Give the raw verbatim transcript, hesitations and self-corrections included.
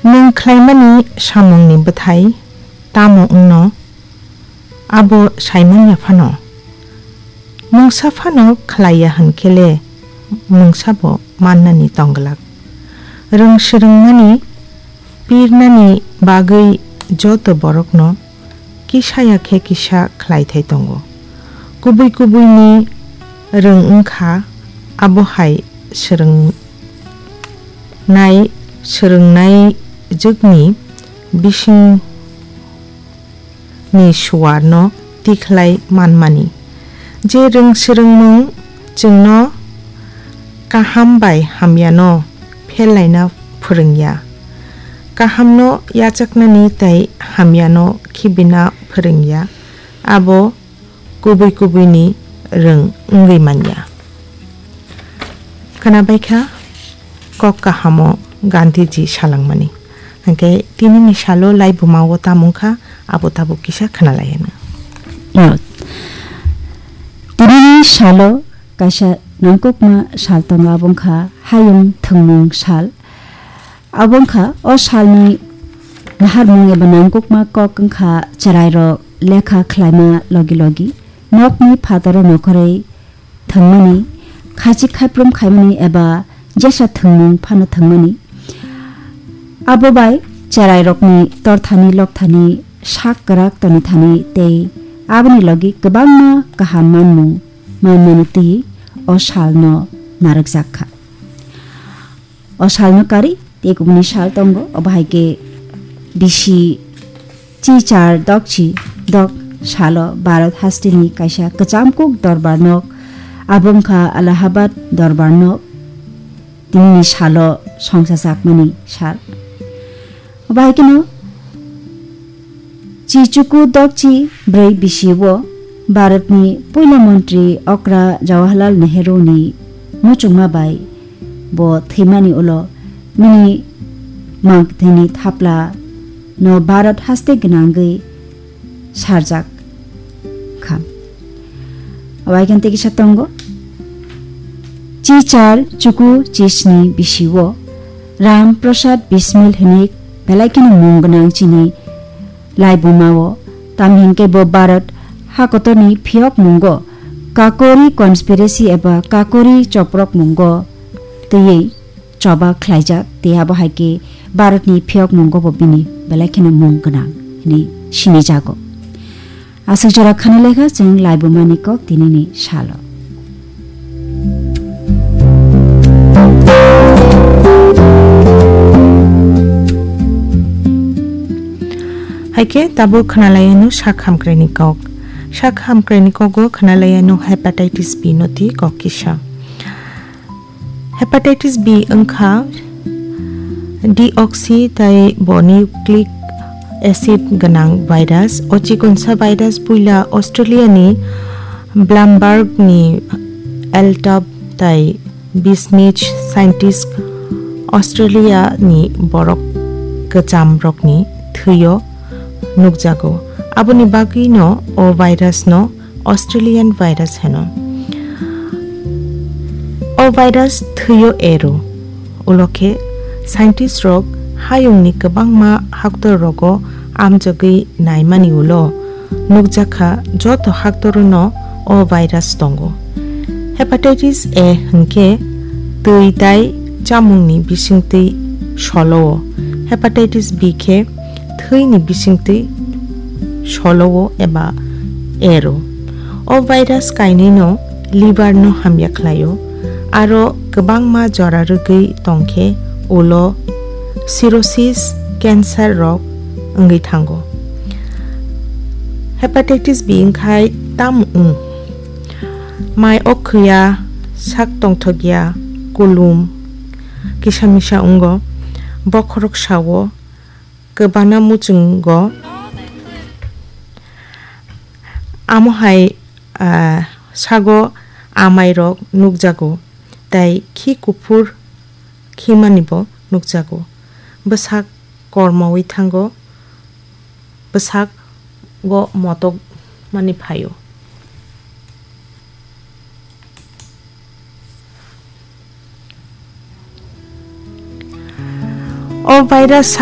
Nwng khlaimani samungni bwthai tamo wngno, abo saimanya phano. Mungsa phano khlaiya hwn khe le mungsa bo mannani tong glak. Rwng swrwngmani pirnani bagwi joto borokno kisa ya khe kisa khlaithai tongo. Kubui kubuini rwng wng kha, abo hai swrwng nai swrwngnaijwkni bisingni suarno tikhlai manmani. Je rwng swrwngmung chwngno kaham bai hamyano phelaina phwrwngya, kahamno yachaknani tei hamyano khibina phwrwngya, abo kubui kubuini rwng wngwi manya. Khwnabaikha kok kahamo Gandhiji salangmani. Hwnkhe tinini salo laibumao tamo wngkha, abo tabuk kisa khwnalaiyano. Yo. Tinini salo kaisa nangkukma sal tongo, abo wngkha Hayung Thwngmung Sal. Abo wngkha o salni naharmung eba nangkukma kok wngkha chwrairok lekha khlaima logi logi nokni phataro nokhorwi thwngmani, khachik khaiprum khaimani eba jesa thwngmung phano thwngmani. Abo bai chwrairokni torthani lokthani sak kwrak tonithani tei aboni logi kwbangma kaham manmung manmani twi o salno narwkjak kha. O salno karwi tei kubuni sal tongo, obo hai khe bisi chichar dokchi dok salo Bharat hasteni kaisa kwcham kuk dorbar nok, abo wngkha Allahabad dorbar nok, tinini salo songchajakmani sal. Obo hai kheno Chichuku dokchi brwi bisi o Bharatni puila montri okra Jawaharlal Nehru ni muchungma bai bo thwimani ulo bini mangthini thapla no Bharat haste gwnangwi sarjak kha. Waikhan tei kisa tongo. Chichar chuku chisni bisi o Ram Prasad Bismil hwnwi belai kheno mung gwnang chini laibuma o, tamni hwnkhe bo Bharat hakotorni phiyok mungo Kakori conspiracy eba Kakori choprok mungo twiwi choba khlaijak, tei abo hai khe Bharatni phiyok mungo bo bini belai kheno mung gwnang hwnwi sinijago. Aswk jora khana lekha chwng laibumani kok tinini salo. Hai khe tabuk khna lai anw sak hamkraini kok. Sak hamkraini kogo khna lai anw hepatitis B no twi kok kisa. Hepatitis B wngkha deoxy tei bo nucleic acid gwnang virus. O chikonsa virus puila Australia ni Blamberg ni Eltop tei Bismich scientist Australia ni borok kwcham rokni thwio nukjago. Aboni bagwi no o virus no Australian virus hwno. O virus thwio ero. Ulo khe scientist rok hayungni kwbangma haktor rogo amjogwi naimani ulo nukjakha joto haktorono o virus tongo. Hepatitis A hwnkhe twi tai chamungni bisingtwi solo-o. Hepatitis B khe thwini bisingtwi solo-o eba ero. O virus kainwino liver no hamya khlaio, aro kwbangma jora rwgwi tongkhe ulo cirrhosis, cancer rok wngwi thango. Hepatitis B wngkhai tamo wng? Mai okhwya, sak tongthokya, kulum, kisa misa wngo, bokhorok sao, kwbana muchungo, amo hai, ah, sago amairok nukjago, tei khi kuphur khimani bo nukjago. Bwsak kormowi thango, bwsak go motok mani phaio. O virus